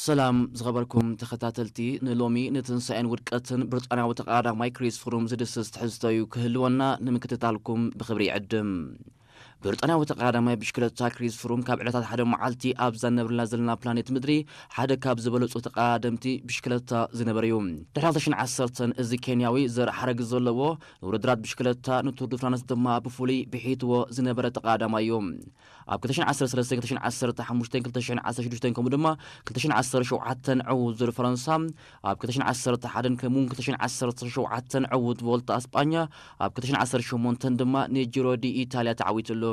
ሰላም ዝኸበርኩም ተኸታተልቲ፣ ንሎሚ ንትንሳኤን ውድቀትን ብሪጣንያዊ ተቐዳዳማይ ክሪስ ፍሩም ዝድስስ ትሕዝቶ እዩ ክህልወና፣ ንምክትታልኩም ብኽብሪ ይዕድም። ብሪጣንያዊ ተቐዳዳማይ ብሽክለታ ክሪስ ፍሩም ካብ ዕለታት ሓደ መዓልቲ ኣብዛ ነብርላ ዘለና ፕላኔት ምድሪ ሓደ ካብ ዝበለጹ ተቐዳደምቲ ብሽክለታ ዝነበረ እዩ። ድሕሪ ክልተ ሽሕን ዓሰርተን እዚ ኬንያዊ ዘርኢ ሓረግ ዘለዎ ንውድድራት ብሽክለታ ንቱር ዱ ፍራንስ ድማ ብፍሉይ ብሒትዎ ዝነበረ ተቐዳዳማይ እዩ። ኣብ ክልተ ሽሕን ዓሰርተ ሰለስተን፣ ክልተ ሽሕን ዓሰርተ ሓሙሽተን፣ ክልተ ሽሕን ዓሰርተ ሽዱሽተን ከምኡ ድማ ክልተ ሽሕን ዓሰርተ ሸውዓተን ዕዉት ዙር ፈረንሳ፣ ኣብ ክልተ ሽሕን ዓሰርተ ሓደን ከምኡውን ክልተ ሽሕን ዓሰርተ ሸውዓተን ዕዉት ቮልታ ኣስጳኛ፣ ኣብ ክልተ ሽሕን ዓሰርተ ሸሞንተን ድማ ንጂሮ ዲ ኢታልያ ተዓዊትሉ።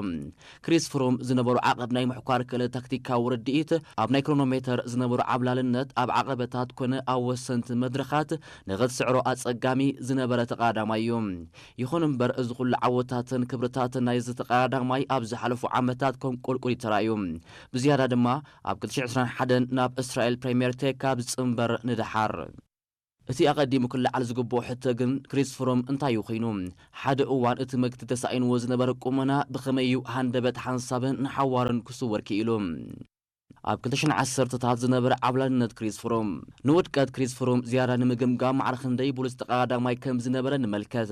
ክሪስ ፍሩም ዝነበሩ ዓቐብ ናይ ምሕኳር ክእለት፣ ታክቲካዊ ርድኢት፣ ኣብ ናይ ክሮኖሜተር ዝነበሩ ዓብላልነት፣ ኣብ ዓቐበታት ኮነ ኣብ ወሰንቲ መድረኻት ንኽትስዕሮ ኣጸጋሚ ዝነበረ ተቐዳዳማይ እዩ። ይኹን እምበር፣ እዚ ኩሉ ዓወታትን ክብርታትን ናይዚ ተቐዳዳማይ ኣብ ዝሓለፉ ዓመታት ከም ቁልቁል እዩ ተራእዩ። ብዝያዳ ድማ ኣብ ክልተ ሽሕን ዕስራን ሓደን ናብ እስራኤል ፕሪምየር ቴክ ካብ ዝጽንበር ንደሓር። እቲ ኣቐዲሙ ክለዓል ዝግብኦ ሕቶ ግን፣ ክሪስ ፍሩም እንታይ እዩ ኮይኑ? ሓደ እዋን እቲ መግቲ ተሳኢንዎ ዝነበረ ቁመና ብኸመይ እዩ ሃንደበት ሓንሳብን ንሓዋሩን ክስወር ክኢሉ? ኣብ ክልተ ሽሕን ዓሰርተታት ዝነበረ ዓብላልነት ክሪስ ፍሩም። ንውድቀት ክሪስ ፍሩም ዝያዳ ንምግምጋም፣ ማዕረ ክንደይ ብሉጽ ተቐዳዳማይ ከም ዝነበረ ንመልከት።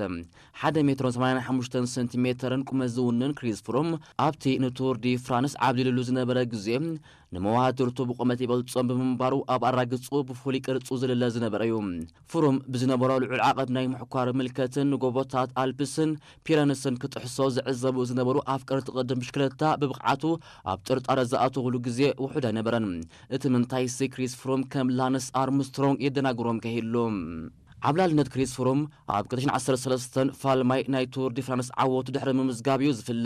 ሓደ ሜትሮን ሰማንያን ሓሙሽተን ሰንቲሜተርን ቁመት ዝውንን ክሪስ ፍሩም፣ ኣብቲ ንቱር ዲ ፍራንስ ዓብሊሉሉ ዝነበረ ግዜ፣ ንመዋድርቱ ብቑመት ይበልጾም ብምንባሩ፣ ኣብ ኣራግጹ ብፍሉይ ቅርጹ ዝልለ ዝነበረ እዩ። ፍሩም ብዝነበሮ ልዑል ዓቐብ ናይ ምሕኳር ምልከትን ንጎቦታት ኣልፕስን ፒረንስን ክጥሕሶ ዝዕዘቡ ዝነበሩ ኣፍቀርቲ ቅድም ብሽክለታ፣ ብብቕዓቱ ኣብ ጥርጣረ ዝኣተውሉ ግዜ ውሑድ ኣይነበረን። እቲ ምንታይሲ፣ ክሪስ ፍሩም ከም ላንስ ኣርምስትሮንግ የደናግሮም ከይህሉ። ዓብላልነት ክሪስ ፍሩም ኣብ ክልተ ሽሕን ዓሰርተ ሰለስተን ፋልማይ ናይ ቱር ዲ ፍራንስ ዓወቱ ድሕሪ ምምዝጋብ እዩ ዝፍለ።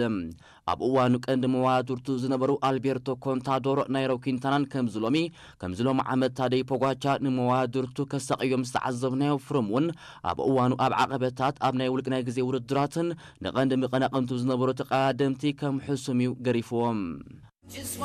ኣብ እዋኑ ቀንዲ መዋድርቱ ዝነበሩ ኣልቤርቶ ኮንታዶር፣ ናይሮ ኪንታናን ከምዚ ሎሚ ከምዚ ሎም ዓመት ታደይ ፖጋቻ ንመዋድርቱ ከሳቕዮም ዝተዓዘብናዮ፣ ፍሩም እውን ኣብ እዋኑ ኣብ ዓቐበታት፣ ኣብ ናይ ውልቂ ናይ ግዜ ውድድራትን ንቐንዲ መቐናቕንቱ ዝነበሩ ተቐዳደምቲ ከም ሕሱም እዩ ገሪፍዎም።